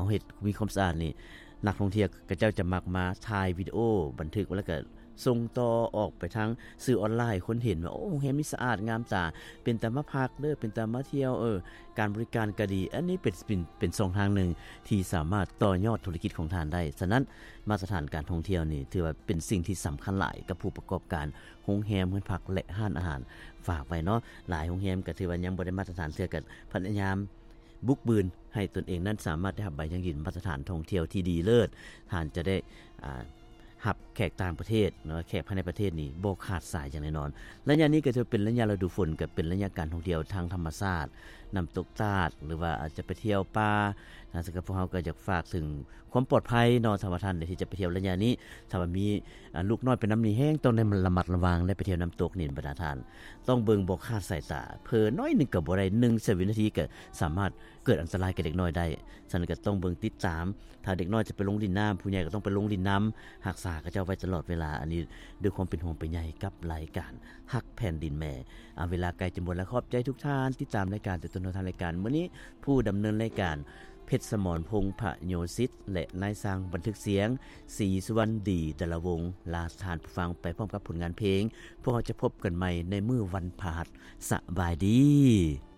ເຮັດມີຄວາມສະອາດນີ້ ນັກທ່ອງທ່ຽວເຂົາເຈົ້າຈະມັກມາຖ່າຍວິດີໂອບັນທຶກ ແລ້ວກໍສົ່ງຕໍ່ອອກໄປທາງສື່ອອນລາຍ ໃຫ້ຄົນເຫັນວ່າ ໂອ້ ໂຮງແຮມນີ້ສະອາດງາມຕາ ເປັນຕາມາພັກເດີ ເປັນຕາມາທ່ຽວ ເອີ ການບໍລິການກໍດີ. ອັນນີ້ເປັນ ເປັນ ເປັນຊ່ອງທາງໜຶ່ງທີ່ສາມາດຕໍ່ຍອດທຸລະກິດຂອງທ່ານໄດ້. ສະນັ້ນ ມາດຕະຖານການທ່ອງທ່ຽວນີ້ ຖືວ່າເປັນສິ່ງທີ່ສຳຄັນຫຼາຍກັບຜູ້ປະກອບການໂຮງແຮມ, ເຮືອນພັກ ແລະ ຮ້ານອາຫານ. ຝາກໄວ້ເນາະ, ຫຼາຍໂຮງແຮມກໍຖືວ່າຍັງບໍ່ໄດ້ມາດຕະຖານເທື່ອ ກໍພະຍາຍາມບຸກບືນໃຫ້ຕົນເອງນັ້ນສາມາດໄດ້ຮັບໃບຢັ້ງຢືນມາດຕະຖານທ່ອງທ່ຽວທີ່ດີເລີດ. ທ່ານຈະໄດ້ ອ່າ ຮັບແຂກຕ່າງປະເທດເນາະ, ແຂກພາຍໃນປະເທດນີ້ບໍ່ຂາດສາຍຢ່າງແນ່ນອນ. ໄລຍະນີ້ກໍຖືເປັນໄລຍະລະດູຝົນ, ກໍເປັນໄລຍະການທ່ອງທ່ຽວທາງທຳມະຊາດ, ນ້ຳຕົກຕາດ ຫຼືວ່າອາດຈະໄປທ່ຽວປ່ານະ. ສຳລັບພວກເຮົາກໍຢາກຝາກເຖິງຄວາມປອດໄພເນາະ, ຖ້າວ່າທ່ານໃດທີ່ຈະໄປທ່ຽວໄລຍະນີ້, ຖ້າວ່າມີ ອ່າ ລູກນ້ອຍໄປນຳນີ້ແຮງຕ້ອງໄດ້ລະມັດລະວັງ, ໄດ້ໄປທ່ຽວນ້ຳຕົກນີ້ ບັນດາທ່ານ ຕ້ອງເບິ່ງບໍ່ຂາດສາຍຕາ, ເຜີໜ້ອຍໜຶ່ງກໍບໍ່ໄດ້, ໜຶ່ງສະວິນາທີກໍສາມາດເກີດອັນຕະລາຍແກ່ເດັກນ້ອຍໄດ້. ສະນັ້ນກໍຕ້ອງເບິ່ງຕິດຕາມ, ຖ້າເດັກນ້ອຍຈະໄປລົງຫຼິ້ນນ້ຳ, ຜູ້ໃຫຍ່ກໍຕ້ອງໄປລົງຫຼິ້ນນຳ, ຮັກສາເຂົາເຈົ້າໄວ້ຕະຫຼອດເວລາ. ອັນນີ້ດ້ວຍຄວາມເປັນຫ່ວງເປັນໃຍກັບລາຍການຮັກແຜ່ນດິນແມ່. ເອົາ ເວລາໃກ້ຈະໝົດແລ້ວ, ຂອບໃຈທຸກທ່ານ ຕິດຕາມລາຍການແຕ່ຕົ້ນຮອດທ້າຍລາຍການ. ມື້ນີ້ຜູ້ດຳເນີນລາຍການ ເພັດສະໝອນ ພົງພະໂຍສິດ ແລະ ນາຍຊ່າງບັນທຶກສຽງ ສີສຸວັນດີ ດາລະວົງ ລາທ່ານຜູ້ຟັງໄປພ້ອມກັບຜົນງານເພງ. ພວກເຮົາຈະພົບກັນໃໝ່ໃນມື້ວັນພະຫັດ. ສະບາຍດີ.